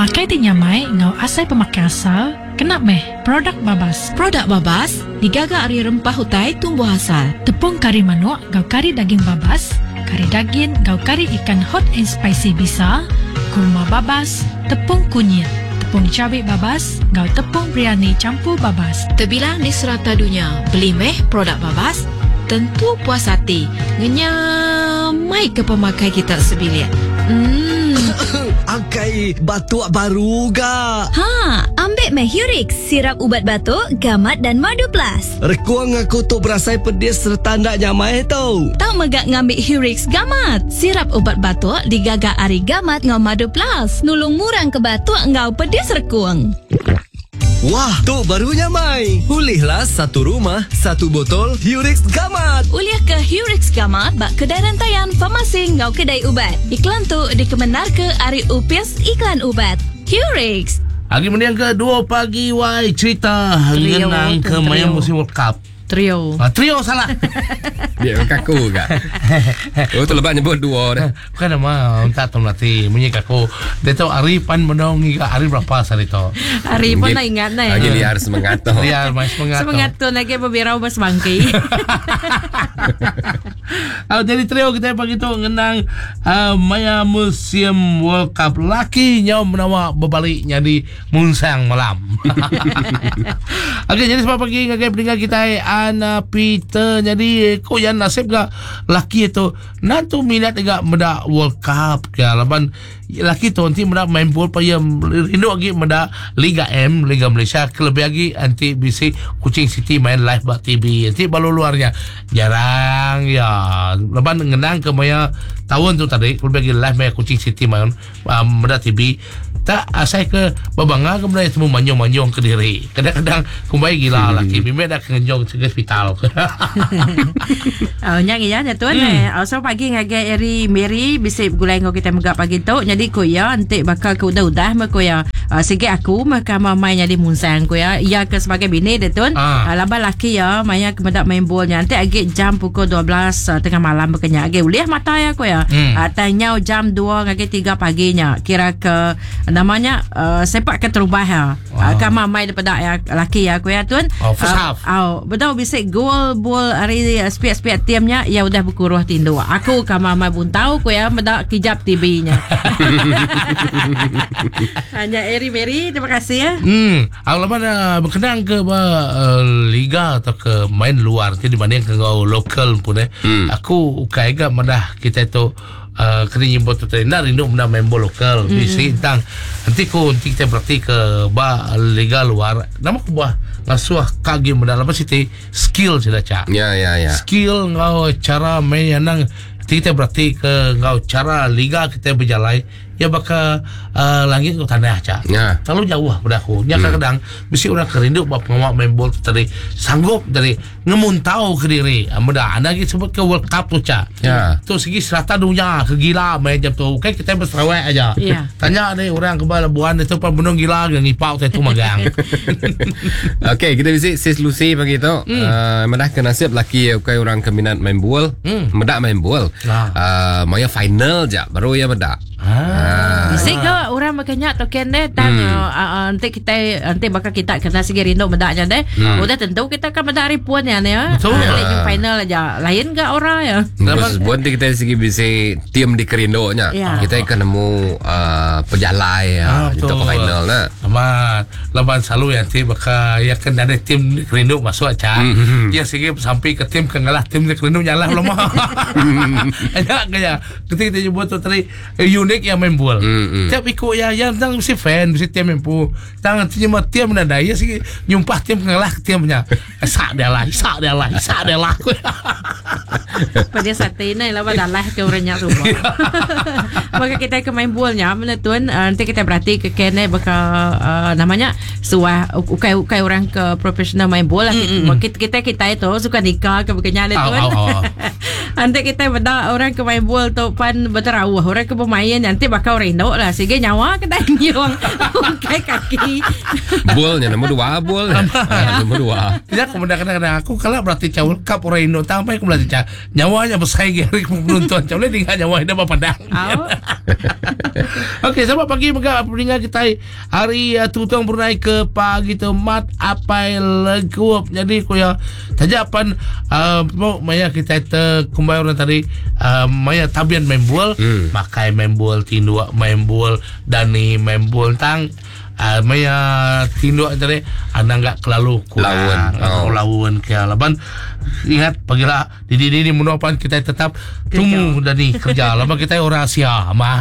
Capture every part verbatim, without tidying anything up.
Pemakai ti nyamai enggau asai pemakai asal kena meh produk babas. Produk babas digaga ari rempah utai tumbuh asal. Tepung kari manuk enggau kari daging babas, kari dagin enggau kari ikan hot and spicy bisa, kurma babas, tepung kunyit, tepung cabai babas enggau tepung biryani campur babas. Terbilang di serata dunia, beli meh produk babas, tentu puas hati. Ngenyamai ke pemakai kita sebilik. Hmm. Akai batuk baru ga. Ha, ambil meh Hurix, sirap ubat batuk, gamat dan madu plus. Rekuang aku tu berasai pedis serta ndak nyamai tau. Tau megak ngambil Hurix gamat. Sirap ubat batuk digaga ari gamat ngau madu plus. Nulung murang ke batuk ngau pedis rekuang. Wah, tu baru nyamai. Ulihlah satu rumah, satu botol Hurix Gamat. Ulih ke Hurix Gamat bak kedai rantaian farmasi ngau kedai ubat. Iklan tu dikemenar ke ari Upis Iklan Ubat. Hurix. Hari mending ke dua pagi wai cerita ngenang ke maya musim World Cup. Trio. Ah, trio salah. Dia kaku gak. Oh tu lebat nyebut dua dah. Bukan nama entak tu melati munyi kaku. Dia tahu hari pan menong hari berapa hari tu. Hari pun nak ingat nih. Lagi liar semangat tu. Liar mai semangat. Semangat tu lagi berbirau bersebangki. Ah, jadi trio kita pagi tu ngenang uh, maya musim World Cup laki nyau menawa berbalik jadi munsang malam. Okey, jadi sebab pagi ngagai pendengar kita Ana Peter jadi ko yang nasib ga laki itu nantu minat juga meda World Cup ke laban laki tu nanti meda main bola pa yang rindu lagi meda Liga M Liga Malaysia kelebih lagi nanti B C Kuching City main live bak T V nanti balu luarnya jarang ya laban ngenang ke maya tahun tu tadi kelebih lagi live maya Kuching City main um, meda T V tak asai ke babanga ke meda semua manjung-manjung ke diri kadang-kadang kumbai gila laki bimbing dah kenjong ke hospital. Oh, nyang iya nya tuan eh. Oh, so pagi ngagai Eri Mary bisi gulai ngau kita megak pagi tu. Jadi ku ya entik bakal ke udah-udah meh ku ya. Uh, sikit aku meh ka mamai jadi munsang ku ya. Iya ke sebagai bini dia tuan. Ah. Uh, laban laki ya maya ke medak main bol nya entik agi jam pukul dua belas uh, tengah malam bekenya agi ulih mata ya ku ya. Hmm. Uh, tanyau jam dua ngagai tiga paginya. Kira ke namanya uh, sepak ke terubah ya. Uh, ka mamai daripada ya laki ya ku ya tuan. Oh, first uh, half. Oh, betul bisa gol bol hari sepiak-sepiak tiamnya ya udah berkuruh tindu. Aku ka mamai buntau ku ya medak kijap T V-nya. Hanya Eri Mary, terima kasih ya. Hmm, awal mana berkenaan ke uh, liga atau ke main luar jadi dibanding ke ngau lokal pun eh. Hmm. Aku ukai gak madah kita tu Uh, kena nyebut tu tadi nak rindu benda main bola lokal hmm. Bisi tentang nanti ku nanti kita berarti ke ba liga luar nama ku buah ngasuh kagi benda apa sih skill sudah cak ya ya ya skill ngau cara main yang nang nanti kita berarti ke ngau cara liga kita berjalan ya bakal uh, langit ke tanah cak ya. Terlalu jauh pada aku nya kadang-kadang bisi orang kerindu buat pengawak main bola tadi sanggup dari ngemuntau ke diri muda anda lagi sebut ke World Cup tu cak ya. Tu segi serata dunia kegila main jam tu kan kita berserawak aja ya. Tanya ni orang ke Labuan itu pan benung gila ngipau tu magang. Okey, kita visit Sis Lucy pagi tu. Hmm. Uh, medah ke nasib laki bukan orang ke minat main bola hmm. Medak main bola ah. Uh, maya final je baru ya medak. Ah. Bisik ke orang makanya token deh tang Hmm. uh, uh, nanti kita nanti bakal kita kena segi rindu medaknya deh. Hmm. Udah tentu kita akan medak hari puan ya ya. Betul. Nanti uh. final aja. Lain ke orang ya. Terus buat kita segi bisi tim di kerindunya. Ya. Kita akan nemu uh, pejalai ya Ah, untuk ke final nah. Amat laban selalu yang nanti bakal ya kan ada tim di kerindu masuk aja. Hmm. Ya segi sampai ke tim kengalah tim di kerindu nyalah lama. Ya kaya ketika kita jumpa tu tadi unik yang main bola. Hmm, hmm. Tiap ikut ya yang tang mesti fan mesti tim mampu. Tang nanti cuma tim mana ya segi nyumpah tim kengalah timnya. Sak dia lah, sak dia lah, sak dia lah. Pada saat ini lah pada lah ke orangnya semua. Maka kita ke main bolnya mana tuan nanti kita berarti ke kene bakal uh, namanya suah ukai ukai orang ke profesional main bola Mm, mm, kita kita kita itu suka nikah ke bukannya ada Au, tuan. au, au. Nanti kita beda orang ke main bol tu pan berterawuh, orang ke bermain nanti bakal rindu lah. Sehingga nyawa ke dah nyung kai kaki. Bolnya nombor dua bol. Ha, nombor dua. Ya kemudian kadang-kadang aku kalau berarti cawul cup orang Indo sampai aku berarti cak nyawanya besar gari penonton cawul tinggal nyawa dia apa padang. Okey, selamat pagi mega pendengar kita hari uh, Tutong Brunei ke pagi tu mat apai legup. Jadi ku ya tajapan uh, mau maya kita te kumbai orang tadi uh, maya tabian main bol, Hmm. makai main bol, tinduk main bol, dani main bol tang uh, maya tinduk tadi anda enggak kelalu kurang Lawan. atau Oh. lawan ke laban ingat pagila di di di menuapan kita tetap tumu dani kerja lama kita orang Asia mah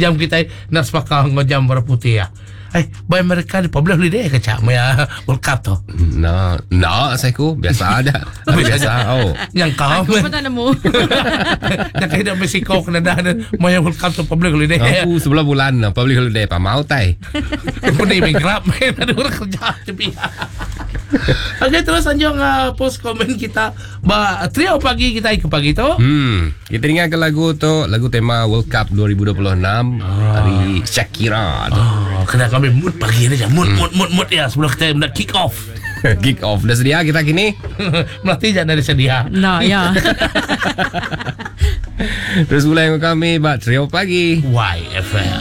jam kita nak sepakal nggo jam berapa putih ya. Eh, by mereka di public holiday ke cak maya World Cup tu. No, no, saya ku biasa aja. Biasa. Oh. Yang kau Aku pun tak nemu. Yang kaya Mexico kena dah maya World Cup tu public holiday. Aku sebelah bulan no, public holiday pa mau tai. Pedih bankrupt main ada orang kerja tepi. Okey terus anjung uh, post komen kita ba trio pagi kita ke pagi tu. Hmm, kita dengar ke lagu tu, lagu tema World Cup dua ribu dua puluh enam dari Shakira tu. Oh, kena kami mood pagi ni je. Mood mood mood mood ya sebelum kita nak kick off. Kick off dah sedia kita kini. Melatih jangan dari sedia. No, ya. Terus mulai dengan kami buat trio pagi. Y F M.